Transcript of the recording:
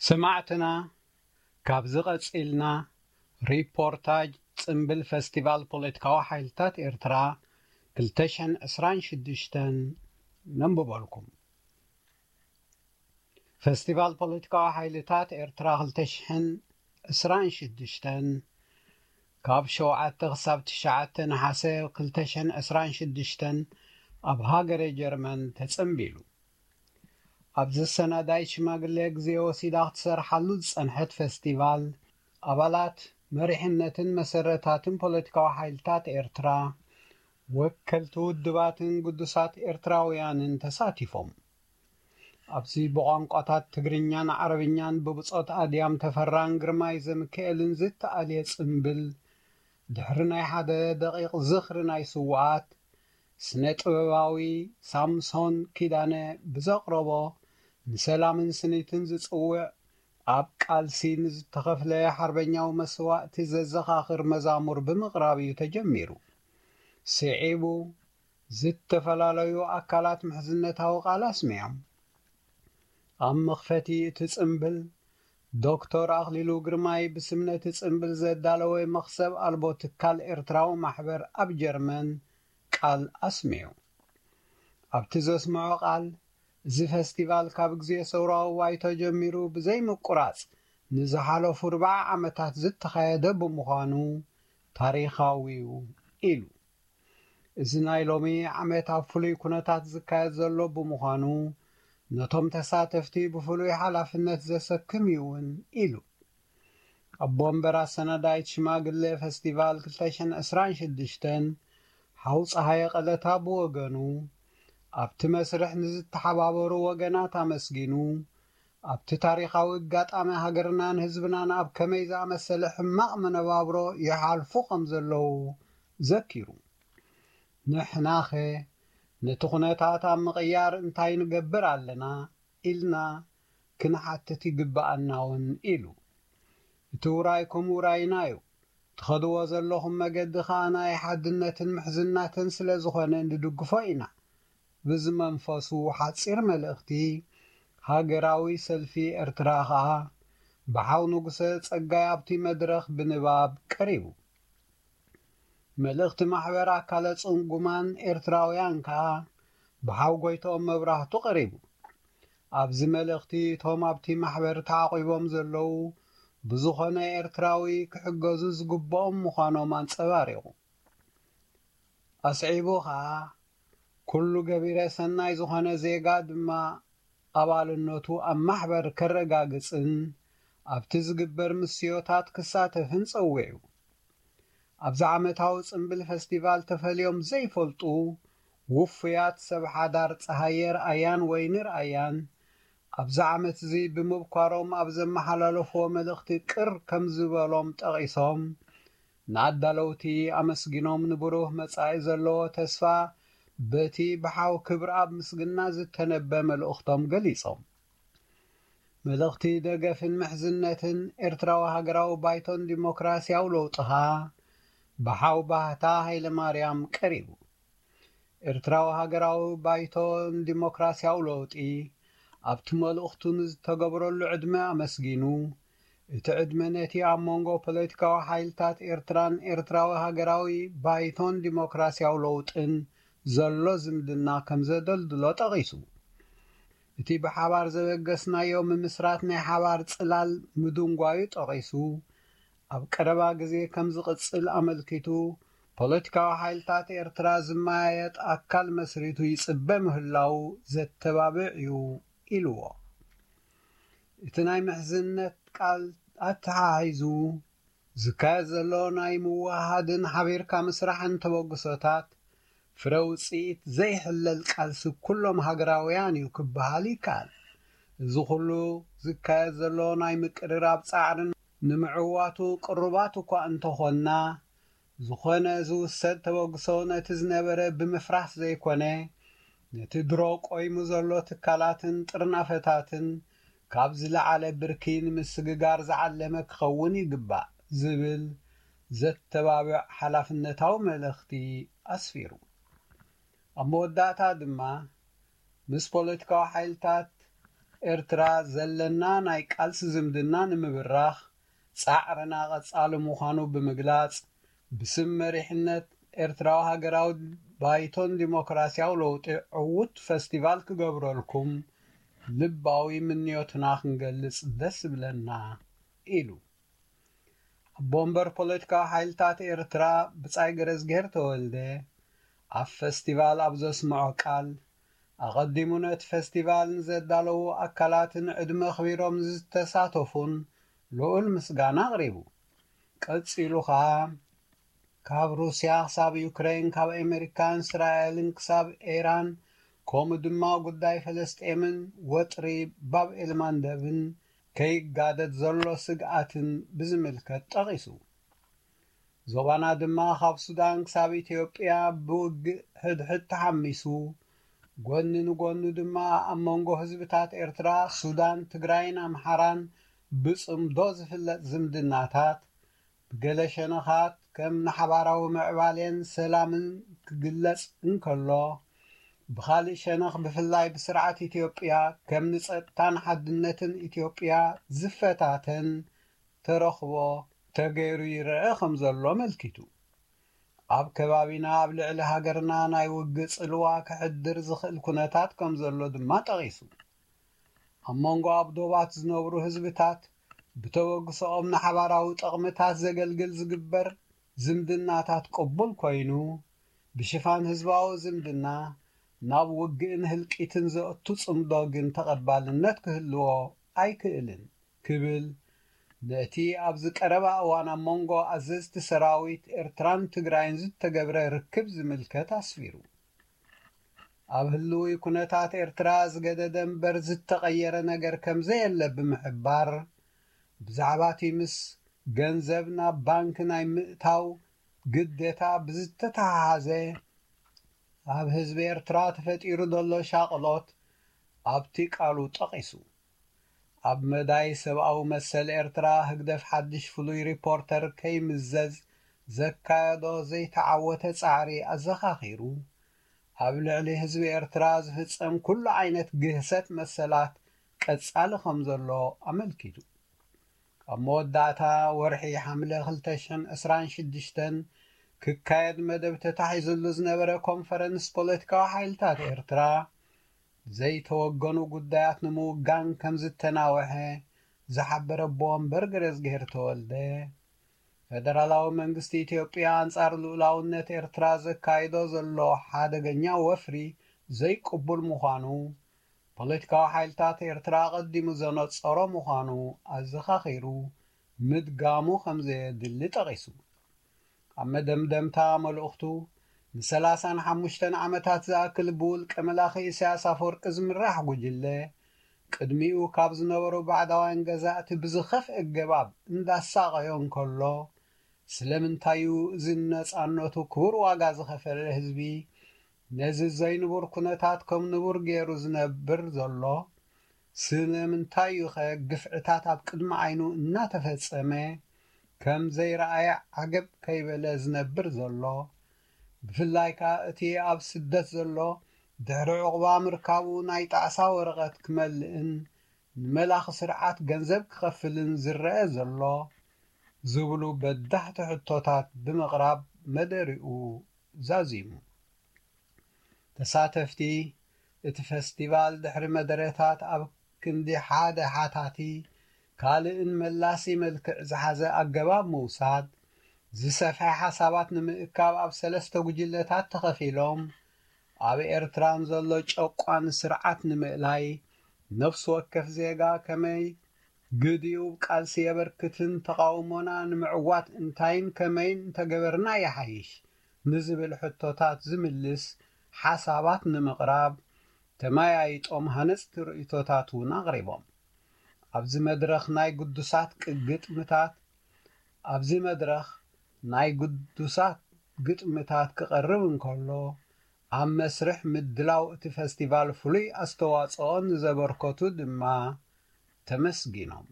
ሰማዕትና፣ ካብዚ ቀጺልና ሪፖርታጅ ጽምብል ፈስቲቫል ፖለቲካዊ ሓይልታት ኤርትራ ክልተ ሽሕን ዕስራን ሽዱሽተን ነንብበልኩም። ፈስቲቫል ፖለቲካዊ ሓይልታት ኤርትራ ክልተ ሽሕን ዕስራን ሽዱሽተን፣ ካብ ሸውዓተ ክሳብ ትሽዓተ ነሓሰ ክልተ ሽሕን ዕስራን ሽዱሽተን ኣብ ሃገረ ጀርመን ተጸንቢሉ። ኣብዚ ሰናዳይት ሽማግለ ግዜ ወሲዳ ክትሰርሓሉ ዝጸንሐት ፈስቲቫል፣ ኣባላት መሪሕነትን መሰረታትን ፖለቲካዊ ሓይልታት ኤርትራ፣ ወከልቲ ውድባትን ግዱሳት ኤርትራውያንን ተሳቲፎም። ኣብዚ ብቋንቋታት ትግርኛን ዓረብኛን ብብጾት ኣድያም ተፈራን ግርማይ ዘምክኤልን ዝተኣልየ ጽምብል፣ ድሕሪ ናይ ሓደ ደቂቕ ዝኽሪ ናይ ስዉኣት፣ ስነ ጥበባዊ ሳምሶን ኪዳነ ብዘቕረቦ ንሰላምን ስኒትን ዝጽውዕ፣ ኣብ ቃልሲ ንዝተኸፍለ ሓርበኛዊ መስዋእቲ ዘዘኻኽር መዛሙር ብምቕራብ እዩ ተጀሚሩ። ስዒቡ፣ ዝተፈላለዩ ኣካላት ምሕዝነታዊ ቃል ኣስሚዖም። ኣብ መኽፈቲ እቲ ጽምብል፣ ዶክተር ኣኽሊሉ ግርማይ ብስም ነቲ ጽምብል ዘዳለወ መኽሰብ ኣልቦ ትካል ኤርትራዊ ማሕበር ኣብ ጀርመን ቃል ኣስሚዑ። ኣብቲ ዘስምዖ ቃል፣ እዚ ፈስቲቫል ካብ ግዜ ሰውራዊ ባይቶ ጀሚሩ ብዘይምቁራጽ ንዝሓለፉ ኣርብዓ ዓመታት ዝተኻየደ ብምዃኑ ታሪኻዊ እዩ ኢሉ። እዚ ናይ ሎሚ ዓመት ኣብ ፍሉይ ኩነታት ዝካየድ ዘሎ ብምዃኑ፣ ነቶም ተሳተፍቲ ብፍሉይ ሓላፍነት ዘሰክም እዩ እውን ኢሉ። ኣቦ ወንበር ኣሰናዳይት ሽማግለ ፈስቲቫል ክልተ ሽሕን ዕስራን ሽዱሽተን ሓው ጸሃየ ቀለታ ብወገኑ፣ ኣብቲ መስርሕ ንዝተሓባበሩ ወገናት ኣመስጊኑ፣ ኣብቲ ታሪኻዊ ኣጋጣሚ ሃገርናን ህዝብናን ኣብ ከመይ ዝኣመሰለ ሕማቕ መነባብሮ ይሓልፉ ከም ዘለዉ ዘኪሩ። ንሕናኸ ነቲ ኩነታት ኣብ ምቕያር እንታይ ንገብር ኣለና ኢልና ክንሓትት ይግብኣና እውን ኢሉ። እቲ ውራይኩም ውራይና እዩ። ትኸድዎ ዘለኹም መገዲ ኸኣ ናይ ሓድነትን ምሕዝናትን ስለ ዝኾነ ንድግፎ ኢና። ብዚ መንፈሱ ሓጺር መልእኽቲ ሃገራዊ ሰልፊ ኤርትራ ኸኣ ብሓው ንጉሰ ጸጋይ ኣብቲ መድረኽ ብንባብ ቀሪቡ። መልእኽቲ ማሕበር ኣካለ ጽንጉማን ኤርትራውያን ከኣ ብሓው ጎይትኦም መብራህቱ ቀሪቡ። ኣብዚ መልእኽቲ እቶም ኣብቲ ማሕበር ተዓቒቦም ዘለዉ ብዝኾነ ኤርትራዊ ክሕገዙ ዝግብኦም ምዃኖም ኣንጸባሪቑ። ኣስዒቡ ኸኣ፣ ኩሉ ገቢረ ሰናይ ዝኾነ ዜጋ ድማ ኣባልነቱ ኣብ ማሕበር ከረጋግጽን ኣብቲ ዝግበር ምስዮታት ክሳተፍን ጸዊዑ። ኣብዚ ዓመታዊ ጽምብል ፈስቲቫል ተፈልዮም ዘይፈልጡ ውፉያት ሰብ ሓዳር ጸሃየ ርኣያን ወይኒ ርኣያን ኣብዚ ዓመት እዚ ብምብኳሮም ኣብ ዘመሓላለፍዎ መልእኽቲ ቅር ከም ዝበሎም ጠቒሶም፣ ንኣዳለውቲ ኣመስጊኖም ንብሩህ መጻኢ ዘለዎ ተስፋ በቲ ብሓው ክብርኣብ ምስግና ዝተነበ መልእኽቶም ገሊጾም። መልእኽቲ ደገፍን ምሕዝነትን ኤርትራዊ ሃገራዊ ባይቶን ዲሞክራስያዊ ለውጢ ኸኣ ብሓው ባህታ ሃይለማርያም ቀሪቡ። ኤርትራዊ ሃገራዊ ባይቶን ዲሞክራስያዊ ለውጢ ኣብቲ መልእኽቱ ንዝተገብረሉ ዕድመ ኣመስጊኑ፣ እቲ ዕድመ ነቲ ኣብ መንጎ ፖለቲካዊ ሓይልታት ኤርትራን ኤርትራዊ ሃገራዊ ባይቶን ዲሞክራስያዊ ለውጥን ዘሎ ዝምድና ከም ዘደልድሎ ጠቒሱ። እቲ ብሓባር ዘበገስናዮ ምምስራት ናይ ሓባር ጽላል ምድንጓዩ ጠቒሱ፣ ኣብ ቀረባ ግዜ ከም ዝቕጽል ኣመልኪቱ፣ ፖለቲካዊ ሓይልታት ኤርትራ ዝመያየጥ ኣካል መስሪቱ ይጽበ ምህላዉ ዘተባብዕ እዩ ኢልዎ። እቲ ናይ ምሕዝነት ቃል ኣተሓሒዙ፣ ዝካየድ ዘሎ ናይ ምውሃሃድን ሓቢርካ ምስራሕን ተበግሶታት ፍረ ውጽኢት ዘይሕለል ቃልሲ ኩሎም ሃገራውያን እዩ ክበሃል ይከኣል። እዚ ኩሉ ዝካየድ ዘሎ ናይ ምቅርራብ ጻዕርን ንምዕዋቱ ቅሩባት እኳ እንተኾንና፣ ዝኾነ ዝውሰድ ተበግሶ ነቲ ዝነበረ ብምፍራስ ዘይኮነ፣ ነቲ ድሮ ቆይሙ ዘሎ ትካላትን ጥርናፈታትን ካብ ዝለዓለ ብርኪ ንምስግጋር ዝዓለመ ክኸውን ይግባእ ዝብል ዘተባብዕ ሓላፍነታዊ መልእኽቲ ኣስፊሩ። ኣብ መወዳእታ ድማ፣ ምስ ፖለቲካዊ ሓይልታት ኤርትራ ዘለና ናይ ቃልሲ ዝምድና ንምብራኽ ጻዕርና ቀጻሊ ምዃኑ ብምግላጽ፣ ብስም መሪሕነት ኤርትራዊ ሃገራዊ ባይቶን ዲሞክራሲያዊ ለውጢ ዕዉት ፈስቲቫል ክገብረልኩም ልባዊ ምንዮትና ክንገልጽ ደስ ይብለና ኢሉ። ኣቦ ወንበር ፖለቲካዊ ሓይልታት ኤርትራ ብጻይ ገረዝግሄር ተወልደ ኣብ ፈስቲቫል ኣብ ዘስምዖ ቃል፣ ኣቐዲሙ ነቲ ፈስቲቫል ንዘዳለዉ ኣካላትን ዕድመ ኣኽቢሮም ዝተሳተፉን ልዑል ምስጋና ኣቕሪቡ። ቀጺሉ ኸኣ፣ ካብ ሩስያ ክሳብ ዩክሬን፣ ካብ ኣሜሪካን እስራኤልን ክሳብ ኢራን፣ ከምኡ ድማ ጉዳይ ፈለስጤምን ወጥሪ ባብ ኤልማንደብን ከይጋደድ ዘሎ ስግኣትን ብዝምልከት ጠቒሱ። ዞባና ድማ ካብ ሱዳን ክሳብ ኢትዮጵያ ብውግእ ሕድሕድ ተሓሚሱ፣ ጎኒ ንጎኑ ድማ ኣብ መንጎ ህዝብታት ኤርትራ፣ ሱዳን፣ ትግራይን ኣምሓራን ብጽምዶ ዝፍለጥ ዝምድናታት፣ ብገለ ሸነኻት ከም ንሓባራዊ ምዕባሌን ሰላምን ክግለጽ እንከሎ፣ ብኻልእ ሸነኽ ብፍላይ ብስርዓት ኢትዮጵያ ከም ንጸጥታን ሓድነትን ኢትዮጵያ ዝፈታተን ተረኽቦ ተገይሩ ይረአ ከም ዘሎ ኣመልኪቱ። ኣብ ከባቢና ኣብ ልዕሊ ሃገርና ናይ ውግእ ጽልዋ ከሕድር ዝኽእል ኩነታት ከም ዘሎ ድማ ጠቒሱ። ኣብ መንጎ ኣብ ዶባት ዝነብሩ ህዝብታት ብተበግሶኦም ንሓባራዊ ጠቕምታት ዘገልግል ዝግበር ዝምድናታት ቅቡል ኮይኑ፣ ብሽፋን ህዝባዊ ዝምድና ናብ ውግእን ህልቂትን ዘእቱ ጽምዶ ግን ተቐባልነት ክህልዎ ኣይክእልን ክብል ነቲ ኣብዚ ቀረባ እዋን ኣብ መንጎ ኣዘዝቲ ሰራዊት ኤርትራን ትግራይን ዝተገብረ ርክብ ዝምልከት ኣስፊሩ። ኣብ ህልዊ ኩነታት ኤርትራ ዝገደደ እምበር ዝተቐየረ ነገር ከም ዘየለ ብምሕባር፣ ብዛዕባ እቲ ምስ ገንዘብ ናብ ባንክ ናይ ምእታው ግዴታ ብዝተተሓሓዘ ኣብ ህዝቢ ኤርትራ ተፈጢሩ ዘሎ ሻቕሎት ኣብቲ ቃሉ ጠቒሱ። ኣብ መዳይ ሰብኣዊ መሰል ኤርትራ ህግደፍ ሓድሽ ፍሉይ ሪፖርተር ከይምዘዝ ዘካየዶ ዘይተዓወተ ጻዕሪ ኣዘኻኺሩ፣ ኣብ ልዕሊ ህዝቢ ኤርትራ ዝፍጸም ኩሉ ዓይነት ግህሰት መሰላት ቀጻሊ ከም ዘሎ ኣመልኪቱ። ኣብ መወዳእታ ወርሒ ሓምለ ክልተ ሽሕን ዕስራን ሽዱሽተን ክካየድ መደብ ተታሒዙሉ ዝነበረ ኮንፈረንስ ፖለቲካዊ ሓይልታት ኤርትራ፣ ዘይተወገኑ ጉዳያት ንምውጋን ከም ዝተናውሐ ዝሓበረ ኣቦ ወንበር ገረዝግሄር ተወልደ፣ ፈደራላዊ መንግስቲ ኢትዮጵያ ኣንጻር ልኡላውነት ኤርትራ ዘካይዶ ዘሎ ሓደገኛ ወፍሪ ዘይቅቡል ምዃኑ፣ ፖለቲካዊ ሓይልታት ኤርትራ ኣቐዲሙ ዘነጸሮ ምዃኑ ኣዘኻኺሩ፣ ምድጋሙ ከም ዘየድሊ ጠቒሱ። ኣብ መደምደምታ መልእኽቱ፣ ንሰላሳን ሓሙሽተን ዓመታት ዝኣክል ብውልቀ መላኺ ኢሳያስ ኣፈወርቂ ዝምራሕ ጉጅለ፣ ቅድሚኡ ካብ ዝነበሩ ባዕዳውያን ገዛእቲ ብዝኸፍአ ኣገባብ እንዳሳቐዮ እንከሎ፣ ስለምንታይ እዩ እዚ ነጻነቱ ክቡር ዋጋ ዝኸፈለ ህዝቢ ነዚ ዘይንቡር ኩነታት ከም ንቡር ገይሩ ዝነብር ዘሎ? ስለምንታይ እዩ ኸ ግፍዕታት ኣብ ቅድሚ ዓይኑ እናተፈጸመ ከም ዘይረኣየ ዓገብ ከይበለ ዝነብር ዘሎ? ብፍላይ ከኣ እቲ ኣብ ስደት ዘሎ ድሕሪ ዕቑባ ምርካቡ ናይ ጣዕሳ ወረቐት ክመልእን ንመላኺ ስርዓት ገንዘብ ክኸፍልን ዝረአ ዘሎ ዝብሉ በዳህቲ ሕቶታት ብምቕራብ መደሪኡ ዛዚሙ። ተሳተፍቲ እቲ ፈስቲቫል ድሕሪ መደረታት ኣብ ክንዲ ሓደ ሓታቲ ካልእን መላሲ መልክዕ ዝሓዘ ኣገባብ ምውሳድ፣ ዝሰፍሐ ሓሳባት ንምእካብ ኣብ ሰለስተ ጉጅለታት ተኸፊሎም፣ ኣብ ኤርትራን ዘሎ ጨቋኒ ስርዓት ንምእላይ፣ ነፍሲ ወከፍ ዜጋ ከመይ ግዲኡ ቃልሲ የበርክትን ተቓውሞና ንምዕዋት እንታይን ከመይን እንተገበርና ይሓይሽ ንዝብል ሕቶታት ዝምልስ ሓሳባት ንምቕራብ ተመያይጦም ሃነጽቲ ርእይቶታት እውን ኣቕሪቦም። ኣብዚ መድረኽ ናይ ግዱሳት ቅ-፣ ግጥምታት፣ ኣብዚ መድረኽ ናይ ግዱሳት ግጥምታት ክቐርብ እንከሎ፣ ኣብ መስርሕ ምድላው እቲ ፈስቲቫል ፍሉይ ኣስተዋጽኦ ንዘበርከቱ ድማ ተመስጊኖም።